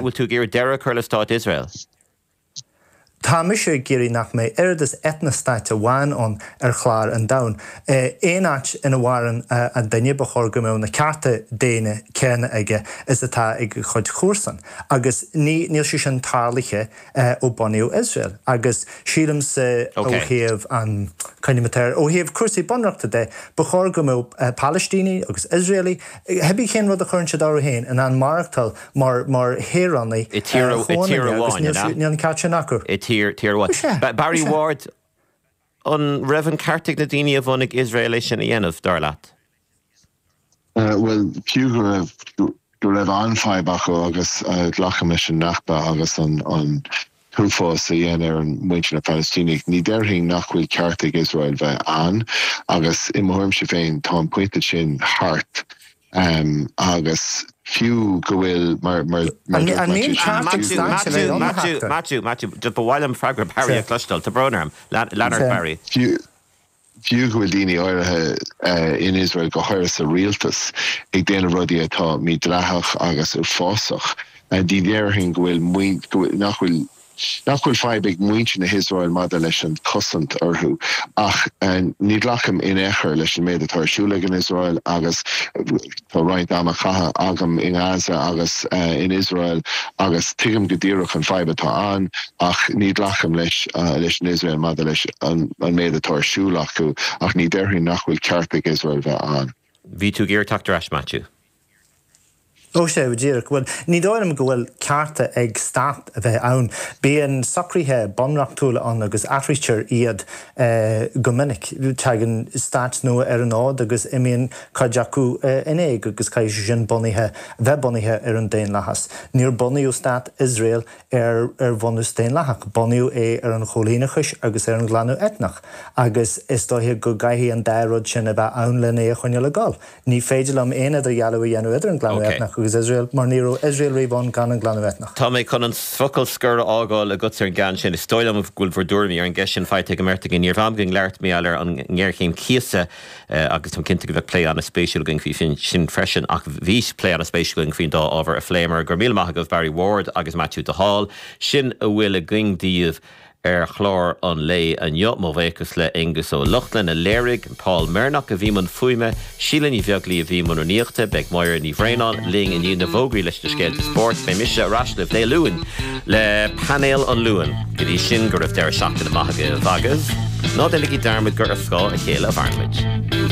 Bhfuil tú ag iarraidh deireadh a chur le stát Iosrael? Tá mise ag iarraidh nach mbeidh oiread is eitneastát amháin ann ar chlár an domhain. Aon áit ina mhaireann an duine, ba chóir go mbeadh na cearta daonna céanna aige is atá ag a chuid chomharsan. Agus ní, níl sé sin tarlaithe ó bunaíodh Iosrael. Agus sílimse ó thaobh an, coinním air, ó thaobh cúrsaí bunreachta de, ba chóir go mbeadh Palaistínigh agus Iosraelaigh, cibé cén rud a chuireann siad orthu féin, in ann maireachtáil mar mar shaoránaigh I tír i tír amháin, an ea? Níl an ceart sin acu. I tír tír amháin. Barry Ward, an raibh an ceart ag na daoine a bhunaigh Iosrael é sin a dhéanamh, dar leat? Bhuel, fiú go raibh go raibh an-fhadhb acu agus glacaim leis an Nakba agus an an t-uafás a dhein ar an muintir na Palaistínigh, ní déarfainn nach bhfuil ceart ag Iosrael bheith ann agus i mo thuairimse féin tá an pointe sin thart agus fiú go bhfuil mar mar mar An dúirt mbíonn ceart ag Matthew, stáit a bheith ann, a Matthew, Theachta? Matthew, Matthew, ba mhaith liom freagra Barry a chloisteáil, tá brón orm. Lean ort, Barry. Fiú Fiú go bhfuil daoine áirithe in Iosrael, go háirithe sa rialtas, ag déanamh rudaí atá mídhleathach agus uafásach, ní déarfainn go bhfuil nach bhfuil nach bhfuil fadhb ag muintir na hIosrael maidir leis an cosaint orthu. Ach ní ghlacaim in aon chor leis an méid atá ar siúl ag an Iosrael agus tá roinnt ama caite agam i nGaza agus in Iosrael agus tuigim go díreach an fadhb atá ann. Ach ní ghlacaim leis leis an Iosrael maidir leis an méid atá ar siúl acu, ach ní déarfainn nach bhfuil ceart ag Iosrael bheith ann. Bhí tú ag iarraidh teacht ar ais, Maitiú. Ó sea, go díreach. Bhuel, ní dóigh liom go bhfuil cearta ag stát a bheith ann. Bíonn socruithe bunreachtúla ann agus athraítear iad go minic. Tagann stáit nua ar an fhód agus imíonn cuid acu in éag agus caithfidh sé sin bunaithe, bheith bunaithe ar an daonlathas. Níor bunaíodh stát Iosrael ar ar bhunús daonlathach. Bunaíodh é ar an choilíneachais agus ar an ghlanadh eitneach, agus is dóiche go gcaithfidh an dá rud sin a bheith ann len é a choinneáil ag dul. Ní féidir liom aon idirdhealú a dhéanamh idir an glanadh eitneach agus Iosrael, mar ní raibh Iosrael riamh ann gan an glanadh eitneach. Tá mé chun an focal scoir a fhágáil agatsa ar an gceann sin. Is dóigh liom go bhfuil bhur dtuairimí ar an gceist sin faighte ag an mbeirt againn. Ní raibh am againn labhairt mar gheall ar an ngéarchéim cíosa agus táim cinnte go bheadh plé an-spéisiúil againn faoi sin freisin. Ach bhí plé an-spéisiúil againn faoin dá ábhar a phléamar. Go raibh míle maith agaibh Barry Ward agus Maitiú de Hál. Sin a bhfuil againn daoibh ar chlár an lae inniu. Mo bhuíochas le Aonghus Ó Lochlainn a léirigh, Paul Mernock a bhí i mbun fuaime, Síle Ní Bheaglaoi a bhí i mbun rúnaíochta. Beidh Máire Ní Bhraonáin linn i ndiaidh na bhfógraí leis na scéalta spóirt. Beidh mise ar ais libh Dé Luain le Painéal an Luain. Go dtí sin, go raibh deireadh seachtaine maith agaibh agus ná déanaigí dearmad gur ar scáth a chéile a mhaireann muid.